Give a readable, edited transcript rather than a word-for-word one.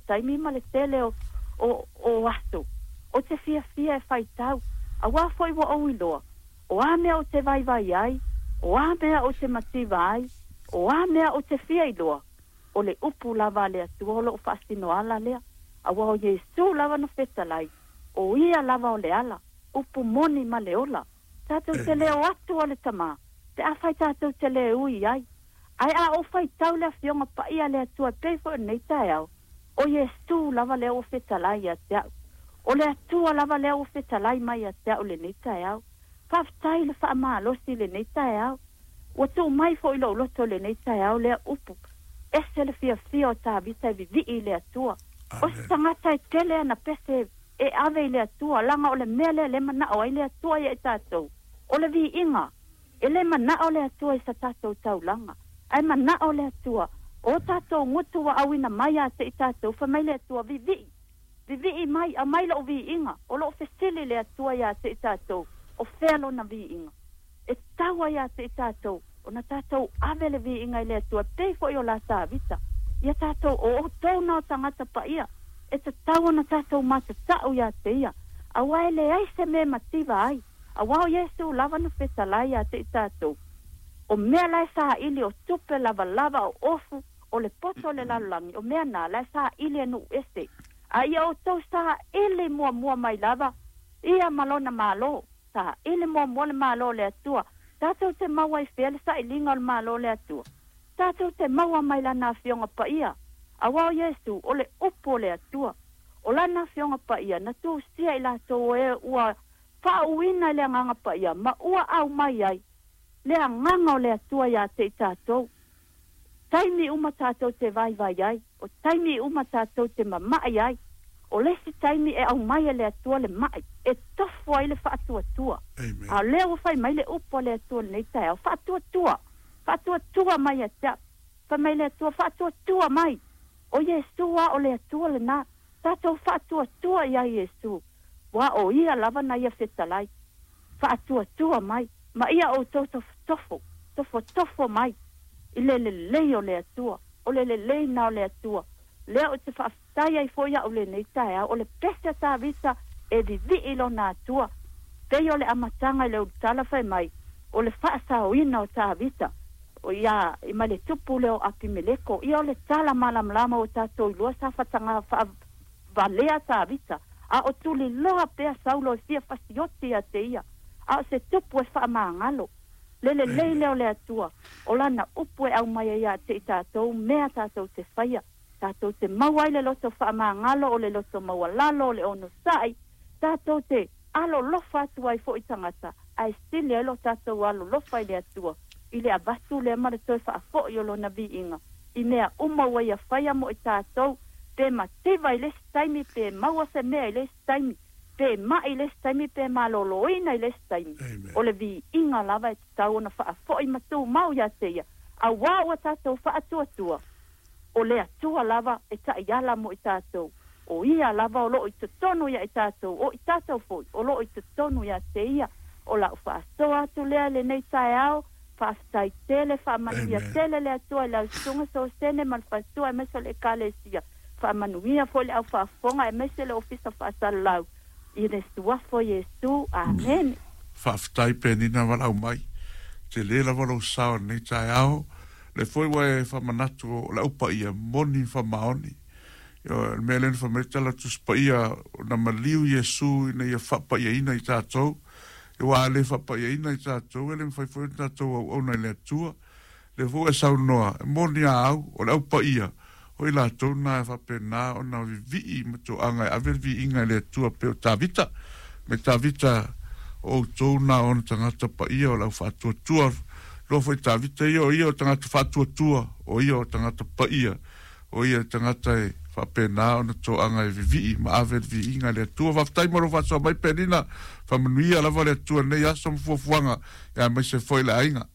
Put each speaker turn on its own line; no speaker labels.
taimi ma le tele o aso ou te fiafia e faitau, auā foi ua ou iloa, o a mea ou te vaivai ai, o a mea ou te mativa ai, o a mea ou te fia iloa, o le upu lava a le Atua o lou faasinoala lea, auā o Iesu lava na fetalai, o Ia lava o le ala, upu moni ma le ola. Tatou te le o atu o le Tama, pe afai tatou te le ui i ai. Ae a ou faitau le Afioga Paia a le Atua e pei foi o lenei taeao, o Iesu lava lea ua fetalai ia te au. O le Atua lava lea ua fetalai mai ia te au i lenei taeao. Faafetai i le faamalosi i lenei taeao. Ua tuu mai foi i lou loto i lenei taeao lea upu, Ese le fiafia o Tavita e vivii i le Atua. O se tagata e tele ana pese e ave i le Atua, laga o le mea lea le manao ai le Atua ia i tatou, o le viiga. E le manao le Atua i sa tatou taulaga, ae manao le Atua, o tatou gutu ua auina mai ia te i tatou, fai mai le Atua, Vivii, vivii mai, aumai lou viiga. O lo o fesili le Atua ia te i tatou, o fea lona viiga? E tatau ai ia te i tatou ona tatou ave le viiga i le Atua, e pei foi o la Tavita. Ia tatou, o outou na o tagata paia, e tatau ona tatou matatau ia te ia, auā e leai se mea e mativa ai. Auā o Iesu lava na fetalai ia te i tatou, o mea la e saili, o tupe lavalava, o ofu, o le poto o le lalolagi, o mea na la e saili e nuu ese. A ia outou saili muamua mai lava ia ma lona Malo. Saili muamua le Malo o le Atua. Tatou te maua i fea le sailiga o le Malo o le Atua? Tatou te maua mai Lana Afioga Paia. Auā o Iesu, o le Upu o le Atua. O Lana Afioga Paia, na tusia i latou o e ua faauuina i le Agaga Paia, ma ua aumai ai le Agaga o le Atua ia te i tatou. Taimi uma tatou te vaivai ai, o taimi uma tatou te mama'i ai, o le isi taimi e aumai e le Atua le ma'i e tofu ai le faatuatua. A o lea ua fai mai le upu a le Atua i lenei taeao, Faatuatua! Faatuatua mai ia te au! Fai mai le Atua, Faatuatua mai! O Iesu a o le Atua lena. Tatou faatuatua ia Iesu, ua o Ia lava na Ia fetalai. Faatuatua mai, ma ia outou tofotofo, tofotofo mai i le lelei o le Atua, o le lelei na o le Atua. Lea ou te faafetai ai foi au lenei taeao, o le pese a Tavita e vivii i lona Atua, pei o le amataga i le ulutala fai mai, o le faasaoina o Tavita, o ia ma le tupu lea o Apimeleko. Ia o le tala malamalama ua tatou iloa sa fataga faavalea Tavita, a o tuliloa pea Saulo e fia fasioti ia te ia, a o se tupu e faamagalo. Le lelei lea o le Atua, o Lana upu e aumai ai ia te i tatou mea tatou te faia, tatou te maua ai le loto faamagalo, o le loto maualalo, o le onosai, tatou te alolofa atu ai foi i tagata, ae sili ai lo tatou alolofa i le Atua, i le avatu lea ma le toe faafoi o Lona viiga i mea uma ua Ia faia mo i tatou, pe mativa i le isi taimi, pe maua se mea i le isi taimi, pe ma'i i le isi taimi, pe maloloina i le isi taimi, o le viiga lava e tatau ona faafoi ma tumau ia te Ia, auā ua tatou faatuatua. O le Atua lava e taiala mo i tatou, o Ia lava o lo o i totonu ia i tatou, o i tatou foi o lo o i totonu ia te Ia. O lau faasoa atu lea i lenei taeao, faafetai tele, faamanuia tele le Atua i lau Susuga Sosene ma le faletua aemaise o le Ekalesia, faamanuia foi le au faafofoga aemaise le Ofisa Faasalalau i le Suafa o Iesu. Amene.
Faafetai Penina valaau mai. Tele lava lou sao i lenei taeao. Lea foi ua e faamanatu o le Au Paia moni ma faamaoni. Ioe, o le mea lea na fai mai le tala Tusi Paia, na maliu Iesu ina ia faapaiaina i tatou. Aua a le faapaiaina i tatou, e le mafai foi ona tatou auauna i le Atua. Lea foi ua e saunoa, e moni a au, o le Au Paia, o i latou na e faapena ona vivii ma toaga e ave le viiga i le Atua pei o Tavita. Me Tavita, o outou na o ona tagata paia o le au faatuatua. Loa foi Tavita ia, o ia o tagata faatuatua, o ia o tagata paia, o ia le tagata e faapena ona toaga e vivii ma ave le viiga i le Atua. Faafetai mo lou faasoa mai Penina, faamanuia lava le Atua i lenei aso ma fuafuaga, aemaise foi le aiga.